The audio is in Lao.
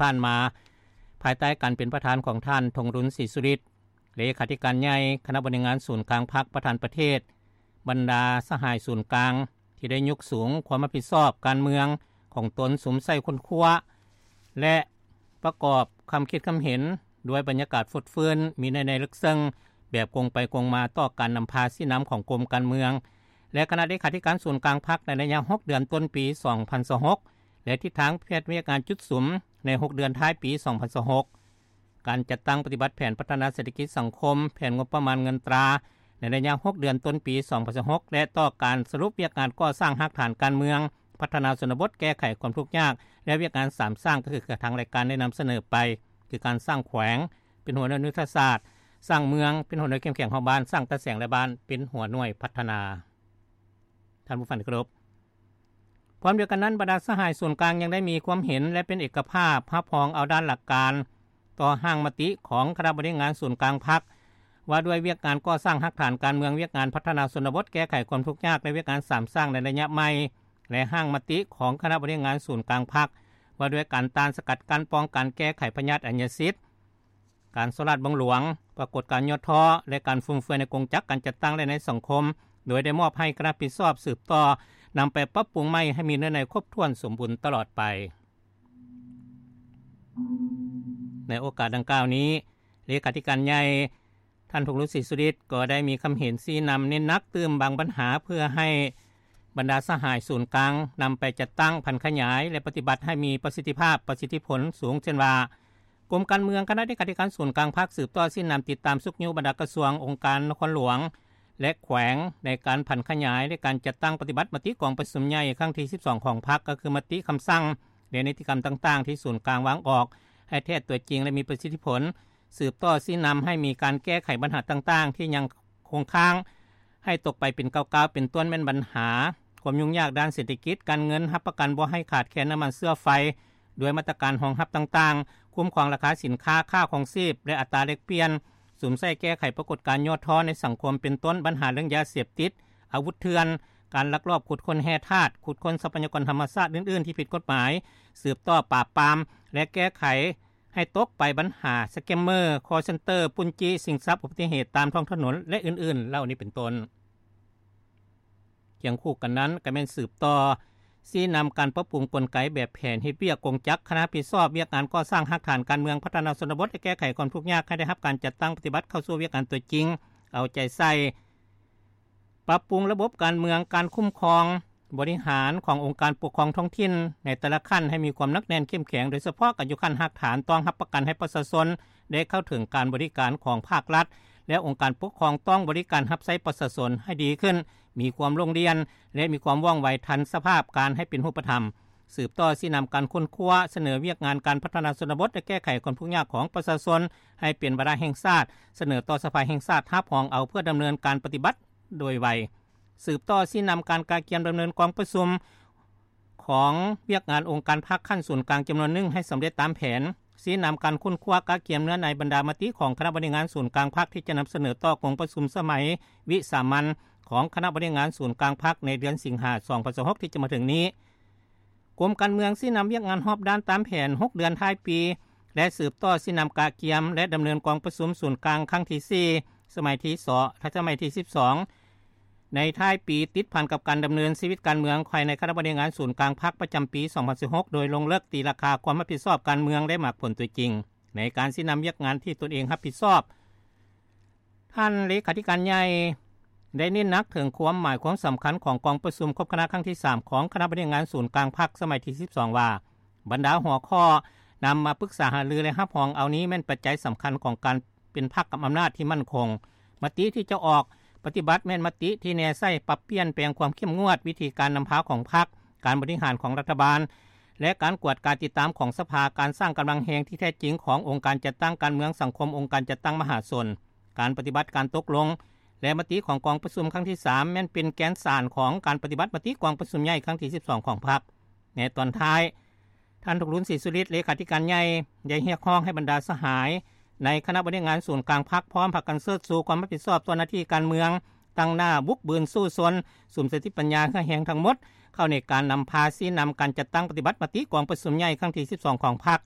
ຜ່ານມາ ພາຍໃຕ້ການເປັນປະທານຂອງທ່ານ ທອງລຸນ ສີສຸລິດ ເລຂາທິການໃຫຍ່ຄະນະບໍລິຫານງານສູນກາງພັກ ປະທານປະເທດ, ບັນດາສະຫາຍສູນກາງທີ່ໄດ້ຍົກສູງຄວາມຮັບຜິດຊອບການເມືອງຂອງຕົນ ສຸມໃສ່ຄົ້ນຄວ້າ ແລະ ປະກອບຄຳຄິດຄຳເຫັນດ້ວຍບັນຍາກາດຟົດຟື້ນ, ມີໃນໃນເລິກເຊິ່ງ, ແບບກົງໄປກົງມາຕໍ່ການນຳພາຊີ້ນຳຂອງກົມການເມືອງ ແລະ ຄະນະເລຂາທິການສູນກາງພັກໃນໄລຍະຫົກເດືອນຕົ້ນປີສອງພັນຊາວຫົກ ແລະ ທິດທາງແຜນວຽກງານຈຸດສຸມໃນຫົກເດືອນທ້າຍປີສອງພັນຊາວຫົກ, ການຈັດຕັ້ງປະຕິບັດແຜນພັດທະນາເສດຖະກິດສັງຄົມ, ແຜນງົບປະມານເງິນຕາໃນໄລຍະຫົກເດືອນຕົ້ນປີສອງພັນຊາວຫົກ ແລະ ຕໍ່ການສະຫຼຸບວຽກງານກໍ່ສ້າງຮາກຖານການເມືອງ, ພັດທະນາຊົນນະບົດ, ແກ້ໄຂຄວາມທຸກຍາກ ແລະ ວຽກງານສາມສ້າງ ກໍຄືທາງລາຍການໄດ້ນຳສະເໜີໄປ ຄືການສ້າງແຂວງເປັນຫົວໜ່ວຍຍຸດທະສາດ, ສ້າງເມືອງເປັນຫົວໜ່ວຍເຂັ້ມແຂງຮອບບ້ານ, ສ້າງຕາແສງລະບ້ານເປັນຫົວໜ່ວຍພັດທະນາ. ທ່ານຜູ້ຟັງທີ່ເຄົາລົບ, ພ້ອມດຽວກັນນັ້ນ, ບັນດາສະຫາຍສູນກາງຍັງໄດ້ມີຄວາມເຫັນ ແລະ ເປັນເອກະພາບຮັບຮອງເອົາດ້ານຫຼັກການຕໍ່ຮ່າງມະຕິຂອງຄະນະບໍລິຫານງານສູນກາງພັກ ວ່າດ້ວຍວຽກງານກໍ່ສ້າງຮາກຖານການເມືອງ, ວຽກງານພັດທະນາຊົນນະບົດ, ແກ້ໄຂຄວາມທຸກຍາກ ແລະ ວຽກງານສາມສ້າງໃນໄລຍະໃໝ່ ແລະ ຮ່າງມະຕິຂອງຄະນະບໍລິຫານງານສູນກາງພັກ ວ່າດ້ວຍການຕ້ານສະກັດກັ້ນ, ປ້ອງກັນ, ແກ້ໄຂພະຍາດອັນຍະສິດ, ການສໍ້ລາດບັງຫຼວງ, ປາກົດການຫຍໍ້ທໍ້ ແລະ ການຟຸມເຟືອຍໃນກົງຈັກການຈັດຕັ້ງ ແລະ ໃນສັງຄົມ, ໂດຍໄດ້ມອບໃຫ້ຄະນະຮັບຜິດຊອບສືບຕໍ່ນຳໄປປັບປຸງໃໝ່ໃຫ້ມີເນື້ອໃນຄົບຖ້ວນສົມບູນຕະຫຼອດໄປ. ໃນໂອກາດດັ່ງກ່າວນີ້, ເລຂາທິການໃຫຍ່ ທ່ານ ທອງລຸນ ສີສຸລິດ ກໍໄດ້ມີຄຳເຫັນຊີ້ນຳເນັ້ນໜັກຕື່ມບາງບັນຫາ ເພື່ອໃຫ້ບັນດາສະຫາຍສູນກາງນຳໄປຈັດຕັ້ງ, ຜັນຂະຫຍາຍ ແລະ ປະຕິບັດໃຫ້ມີປະສິດທິພາບ, ປະສິດທິຜົນສູງ ເຊັ່ນວ່າ ກົມການເມືອງ, ຄະນະເລຂາທິການສູນກາງພັກ ສືບຕໍ່ຊີ້ນຳຕິດຕາມຊຸກຍູ້ບັນດາກະຊວງ, ອົງການນະຄອນຫຼວງ ແລະ ແຂວງ ໃນການຜັນຂະຫຍາຍ ແລະ ການຈັດຕັ້ງປະຕິບັດມະຕິກອງປະຊຸມໃຫຍ່ຄັ້ງທີສິບສອງຂອງພັກ, ກໍຄືມະຕິ, ຄຳສັ່ງ ແລະ ນິຕິກຳຕ່າງໆທີ່ສູນກາງວາງອອກ ໃຫ້ແທ້ຕົວຈິງ ແລະ ມີປະສິດທິຜົນ, ສືບຕໍ່ຊີ້ນຳໃຫ້ມີການແກ້ໄຂບັນຫາຕ່າງໆທີ່ຍັງຄົງຄ້າງ ໃຫ້ຕົກໄປເປັນກ້າວໆ ເປັນຕົ້ນແມ່ນບັນຫາຄວາມຫຍຸ້ງຍາກດ້ານເສດຖະກິດ, ການເງິນ, ຮັບປະກັນບໍ່ໃຫ້ຂາດແຄນນ້ຳມັນເຊື້ອໄຟ ດ້ວຍມາດຕະການຮອງຮັບຕ່າງໆ, ຄຸ້ມຄອງລາຄາສິນຄ້າ, ຄ່າຄອງຊີບ ແລະ ອັດຕາແລກປ່ຽນ, ສຸມໃສ່ແກ້ໄຂປາກົດການຫຍໍ້ທໍ້ໃນສັງຄົມ ເປັນຕົ້ນບັນຫາເລື່ອງຢາເສບຕິດ, ອາວຸດເຖື່ອນ, ການລັກລອບຂຸດຄົ້ນແຮ່ທາດ, ຂຸດຄົ້ນຊັບພະຍາກອນທຳມະຊາດອື່ນໆທີ່ຜິດກົດໝາຍ, ສືບຕໍ່ປາບປາມ ແລະ ແກ້ໄຂ ໃຫ້ຕົກໄປບັນຫາສະແກມເມີ, ຄໍເຊັນເຕີ, ປຸ້ນຈີ້, ຊິງຊັບ, ອຸບັດຕິເຫດຕາມທ້ອງຖະໜົນ ແລະ ອື່ນໆເຫຼົ່ານີ້ເປັນຕົ້ນ. ຄຽງຄູ່ກັນນັ້ນ, ກໍແມ່ນສືບຕໍ່ຊີ້ນຳການປັບປຸງກົນໄກແບບແຜນເຮັດວຽກກົງຈັກຄະນະຮັບຜິດຊອບວຽກງານກໍ່ສ້າງຮາກຖານການເມືອງ, ພັດທະນາຊົນນະບົດ ແລະ ແກ້ໄຂຄວາມທຸກຍາກ ໃຫ້ໄດ້ຮັບການຈັດຕັ້ງປະຕິບັດເຂົ້າສູ່ວຽກງານຕົວຈິງ, ເອົາໃຈໃສ່ ປັບປຸງລະບົບການເມືອງ, ການຄຸ້ມຄອງບໍລິຫານຂອງອົງການປົກຄອງທ້ອງຖິ່ນໃນແຕ່ລະຂັ້ນໃຫ້ມີຄວາມໜັກແໜ້ນເຂັ້ມແຂງ, ໂດຍສະເພາະການຢູ່ຂັ້ນຮາກຖານ, ຕ້ອງຮັບປະກັນໃຫ້ປະຊາຊົນໄດ້ເຂົ້າເຖິງການບໍລິການຂອງພາກລັດ ແລະ ອົງການປົກຄອງຕ້ອງບໍລິການຮັບໃຊ້ປະຊາຊົນໃຫ້ດີຂຶ້ນ, ມີຄວາມໂລ່ງລ່ຽນ ແລະ ມີຄວາມວ່ອງໄວທັນສະພາບການໃຫ້ເປັນຮູບປະທຳ. ສືບຕໍ່ຊີ້ນຳການຄົ້ນຄວ້າ, ສະເໜີວຽກງານການພັດທະນາຊົນນະບົດ ແລະ ແກ້ໄຂຄວາມທຸກຍາກຂອງປະຊາຊົນໃຫ້ເປັນວາລະແຫ່ງຊາດ, ສະເໜີຕໍ່ສະພາແຫ່ງຊາດຮັບຮອງເອົາເພື່ອດຳເນີນການປະຕິບັດ ໂດຍໄວ. ສືບຕໍ່ຊີ້ນຳການກະກຽມດຳເນີນກອງປະຊຸມຂອງວຽກງານອົງການພັກຂັ້ນສູນກາງຈຳນວນໜຶ່ງໃຫ້ສຳເລັດຕາມແຜນ. ຊີ້ນຳການຄົ້ນຄວ້າກະກຽມເນື້ອໃນບັນດາມະຕິຂອງຄະນະບໍລິຫານງານສູນກາງພັກທີ່ຈະນຳສະເໜີຕໍ່ກອງປະຊຸມສະໄໝວິສາມັນຂອງຄະນະບໍລິຫານງານສູນກາງພັກໃນເດືອນສິງຫາສອງພັນຊາວຫົກທີ່ຈະມາເຖິງນີ້. ກົມການເມືອງຊີ້ນຳວຽກງານຮອບດ້ານຕາມແຜນຫົກເດືອນທ້າຍປີ ແລະ ສືບຕໍ່ຊີ້ນຳກະກຽມ ແລະ ດຳເນີນກອງປະຊຸມສູນກາງຄັ້ງທີສີ່ ສະໄໝທີສອງ ສະໄໝທີສິບສອງ ໃນທ້າຍປີ ຕິດພັນກັບການດຳເນີນຊີວິດການເມືອງພາຍໃນຄະນະບໍລິຫານງານສູນກາງພັກປະຈຳປີສອງພັນຊາວຫົກ ໂດຍລົງເລິກຕີລາຄາຄວາມຮັບຜິດຊອບການເມືອງ ແລະ ໝາກຜົນຕົວຈິງໃນການຊີ້ນຳວຽກງານທີ່ຕົນເອງຮັບຜິດຊອບ. ທ່ານເລຂາທິການໃຫຍ່ໄດ້ເນັ້ນໜັກເຖິງຄວາມໝາຍຄວາມສຳຄັນຂອງກອງປະຊຸມຄົບຄະນະຄັ້ງທີສາມຂອງຄະນະບໍລິຫານງານສູນກາງພັກສະໄໝທີສິບສອງ ວ່າ ບັນດາຫົວຂໍ້ນຳມາປຶກສາຫາລື ແລະ ຮັບຮອງເອົານີ້ແມ່ນປັດໄຈສຳຄັນຂອງການເປັນພັກກັບອຳນາດທີ່ໝັ້ນຄົງ. ມະຕິທີ່ຈະອອກປະຕິບັດແມ່ນມະຕິທີ່ແນໃສ່ປັບປ່ຽນແປງຄວາມເຂັ້ມງວດ, ວິທີການນຳພາຂອງພັກ, ການບໍລິຫານຂອງລັດຖະບານ ແລະ ການກວດກາຕິດຕາມຂອງສະພາ, ການສ້າງກຳລັງແຮງທີ່ແທ້ຈິງຂອງອົງການຈັດຕັ້ງການເມືອງ, ສັງຄົມ, ອົງການຈັດຕັ້ງມະຫາຊົນ. ການປະຕິບັດການຕົກລົງ ແລະ ມະຕິຂອງກອງປະຊຸມຄັ້ງທີສາມ ແມ່ນເປັນແກນສານຂອງການປະຕິບັດມະຕິກອງປະຊຸມໃຫຍ່ຄັ້ງທີສິບສອງຂອງພັກ. ໃນຕອນທ້າຍ, ທ່ານ ທອງລຸນ ສີສຸລິດ ເລຂາທິການໃຫຍ່ ໄດ້ຮຽກຮ້ອງໃຫ້ບັນດາສະຫາຍໃນຄະນະບໍລິຫານງານສູນກາງພັກ ພ້ອມພາກັນເຊີດຊູຄວາມຮັບຜິດຊອບຕໍ່ໜ້າທີ່ການເມືອງ, ຕັ້ງໜ້າບຸກບືນສູ້ຊົນ, ສຸມສະຕິປັນຍາເຫື່ອແຮງທັງໝົດ ເຂົ້າໃນການນຳພາຊີ້ນຳການຈັດຕັ້ງປະຕິບັດມະຕິກອງປະຊຸມໃຫຍ່ຄັ້ງທີສິບສອງຂອງພັກ,